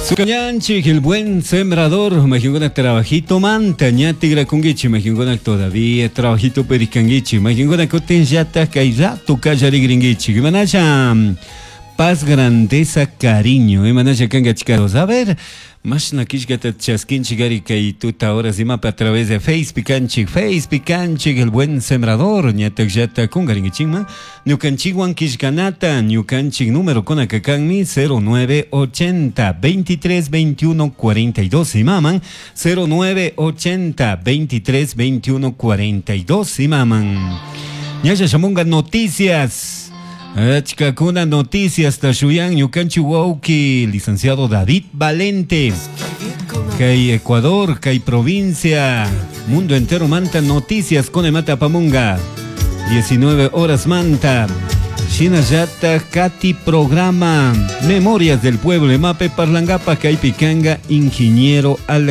Sukañanchik, el buen sembrador, majinkuna trabajito manta, ña tigrakunkichik, majinkuna todavía trabajito perikankichik, majinkuna kutin llatak kay rato kallarigrinkichik, imanasha paz, grandeza, cariño, imanasha kankachikaros. A ver, mashna killkata chaskinchik ari kay tuta horas imapa a través de Facebook kanchik, Facebook kanchik, el buen sembrador, ñatak llata kungarinkichikman, ñukanchikwan killkanata, ñukanchik número kunaka kanmi 0980 23 21 42 imaman, 0980 23 21 42 imaman. Ñalla shamunga noticias. Achkakuna noticias tashuyan ñukanchik wawki licenciado David Valente. Kay Ecuador, kay provincia, mundo entero manta noticias con mata pamunga. 19 horas manta. Shinallata Kati programa Memorias del Pueblo Mape Parlangapa Kaipikanga Ingeniero Alex.